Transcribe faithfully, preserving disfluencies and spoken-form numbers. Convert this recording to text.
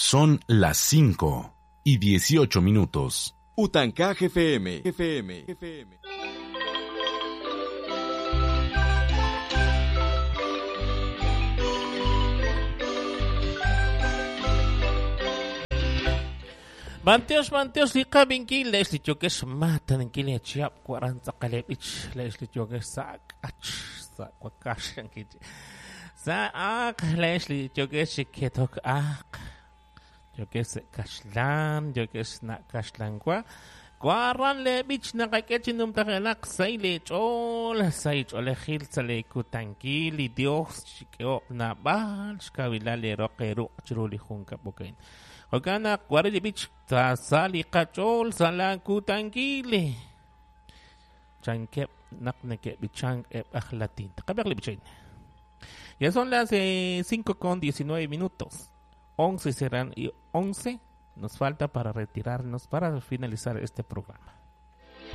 Son las cinco y dieciocho minutos. Utancaj F M, F M, F M. Manteos, manteos, liqabinkil, leeslichokes matankil chiap cuaranta kalebich, leeslichokes sak ach sak wakashankich. Sa ak leeslichokes ketok ak. Yokes kashlan, yokes na kashlankwa. Guarran lebich nakakechinum takelak say chol, say cholejil sale kutankil, Dios chikeo nabal, shkawila le roqueru chiruli junka bokain. Okana guarelibich sali kachol sala kutankil. Chankep nakneke bichang ep ahlatin. Takabak. Ya son las eh, cinco con diecinueve minutos. once serán y once nos falta para retirarnos, para finalizar este programa.